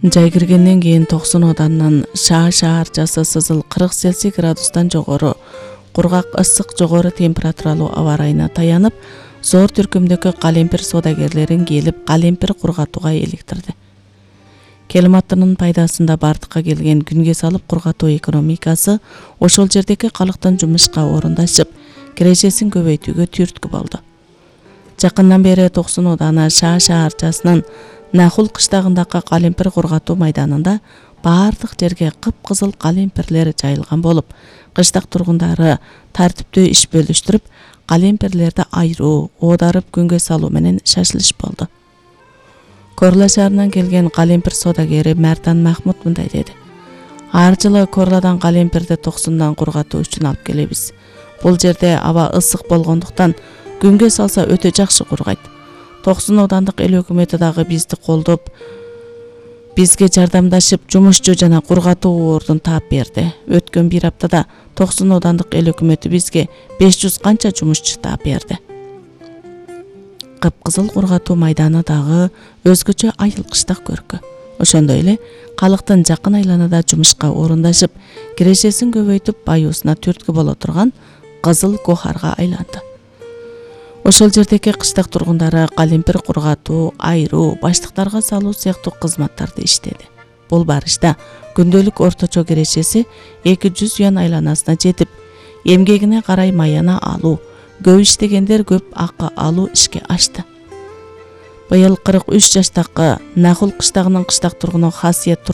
Жай киргенден кийин Токсон Оданынан шаарчасы сызыл 40 Цельсий градустан жогору кургак ысык жогору температуралуу аба ырайына таянып, зор түркүмдөгү калемпир соодагерлерин келип калемпир кургатууга иликтирди. Келиматтынын пайдасында бардыкка келген күнгө салып кургатуу экономикасы ошол жердеги калктын жумушка орундашып, кирежесин көбөйтүүгө түрткү болду. Жакындан бери Токсон Ооданы шаарчасынын Нахул кыштагындагы калемпир кургатуу майданында бардык жерге кыпкызыл калемпирлер жайылган болуп, кыштак тургундары тартиптүү иш бөлүштүрүп, калемпирлерди айыруу, оодарып күнгө салуу менен шашылыш болду. Корла шаарынан келген калемпир соодагери Мартан Махмут мындай деди: "Ар жылы Корладан калемпирди Токсондан кургатуу үчүн алып келебиз. Бул жерде аба ысык болгондуктан күнгө салса өтө жакшы кургайт. Токсон Оодандык эл өкмөтү дагы бизди колдоп, бизге жардамдашып, жумушчу жана кургатуу ордун таап берди. Өткөн бир аптада Токсон Оодандык эл өкмөтү бизге 500 канча жумушчу таап берди." Кыпкызыл кургатуу майданы дагы өзгөчө айыл-кыштак көркү. Ошондой эле калктын жакын айланада жумушка орундашып, кирешесин көбөйтүп, баюусуна түрткү боло турган кызыл гохарга айланды. Ошол жердеги кыштак тургундары калемпир кургатуу, айыруу, баштыктарга салуу сыяктуу кызматтарды иштеди. Бул барышта күндөлүк орточо кирешеси 200 юан айланасына жетип, эмгегине карай маяна алуу, көп иштегендер көп акы алуу ишке ашты. Быйыл 43 жаштагы Нахул кыштагынын кыштак тургуну Хасиет